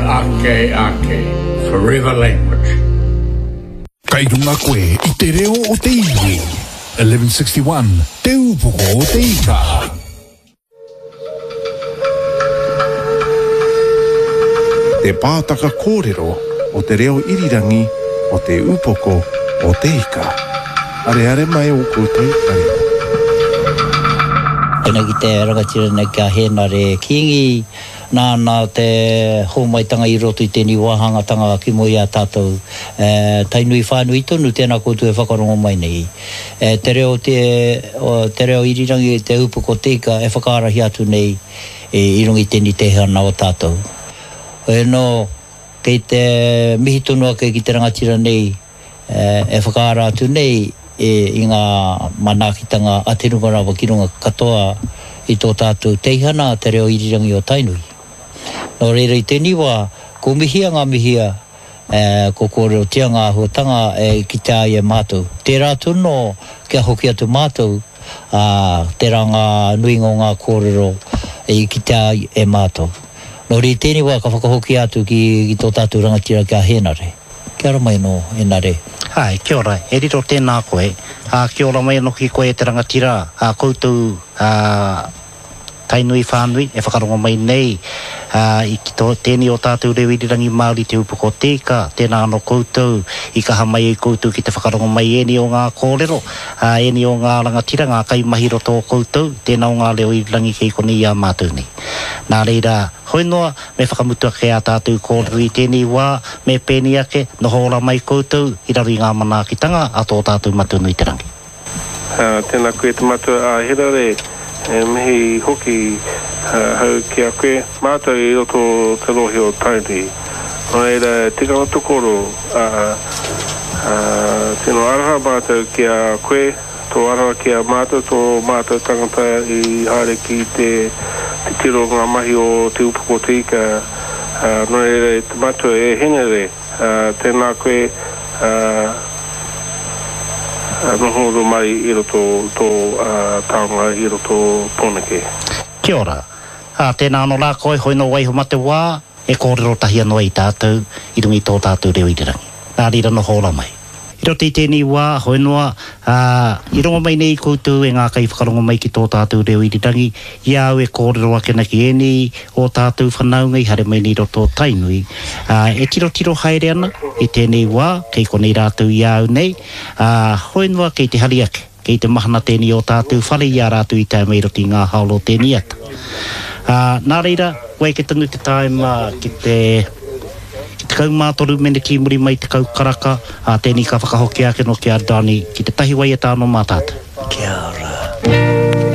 Ake ake. Forever language. Kei runga koe i te reo o te iwi. 1161, Te Ūpoko o te Ika. Te pātaka kōrero o te reo irirangi o Te Ūpoko o te Ika. Areare mai ō koutou taringa. Tēnei ki te rangatira nei ki a Hēnare Kīngi, nāna te hōmaitanga i roto i tēnei wāhangatanga ki mua i a tātou. Tainui whānui tonu tēnā koutou e whakarongo mai nei. Te reo te, te reo irirangi, te upoko te ika e whakaarahia atu nei i runga i tēnei teihana o tātou. Hoi anō, kei te mihi tonu ake ki te rangatira nei e whakaara atu nei i ngā manaakitanga a te runga rawa ki runga katoa i tō tātou teihana, te reo irirangi o Tainui. Nō reira i tēnei wā, ko mihia ngā mihia, ko kōrerotia ngā āhuatanga e kitea ai e mātou. Tērā tonu kia hoki atu mātou, ā, tērā ngā nuinga o ngā kōrero i kitea ai e mātou. Nō reira i tēnei wā ka whakahokia atu ki tō tātou rangatira ki a Hēnare. Kia ora mai anō, e Nare. Āe, kia ora, e riro tēnā koe, ā, kia ora mai anō ki koe e te rangatira, ā, koutou, ā, Tainui whānui e whakarongo mai nei, ā, i ki tō, tēnei o tātou reo irirangi Māori Te Upoko o Te Ika, tēnā anō koutou i kaha mai ai koutou ki te whakarongo mai ēnei o ngā kōrero, ā, ēnei o ngā rangatira, ngā kaimahi roto o koutou, tēnā o ngā reo irirangi kei konei i a mātou nei. Nā reira, hoi noa, Me whakamutu ake ā tātou kōrero i tēnei wā, me pēnei ake, noho ora mai koutou i raro i ngā manaakitanga a tō tātou Matua nui te Rangi. Tēnā koe te Matua a Herare, e mihi hoki ahau ki a koe. Mātou i roto te rohe o Tainui. Nō reira, tikanga tokoro, tino aroha mātou ki a koe. Tō aroha ki a mātou, tō mātou tangata i haere ki te titiro ngā mahi o Te Upoko o Te Ika, nō reira e te matua, e Henere, tēnā koe, noho uru mai i roto tō taonga i roto Pōneke. Kia ora. Ā, tēnā anō rā koe, hoi nō waiho ma te wā. E kōrero tahi anō ai tātou i runga i tō tātou reo irirangi. Nā reira noho ora mai. I roto i tēnei wā, hoi noa, ā, i rongo mai nei koutou e ngā kaiwhakarongo mai ki tō tātou reo irirangi, i a au e kōrero ake ana ki ēnei o tātou whanaunga i haere mai nei i roto o Tainui, ā, e tirotiro haere ana i tēnei wā, kei konei rātou i a au nei, ā, hoi noa kei te hari ake. Kei te mahana tēnei o tātou whare i a rātou i tae mai i roto i ngā haora o tēnei ata. Ā, nā reira, kua eke tonu te tāima ki te, ki 13 meneti i muri mai i te kau karaka, ā, tēnei ka whakahokia ake nō ki a Donny ki te tahi waiata anō mā tātou.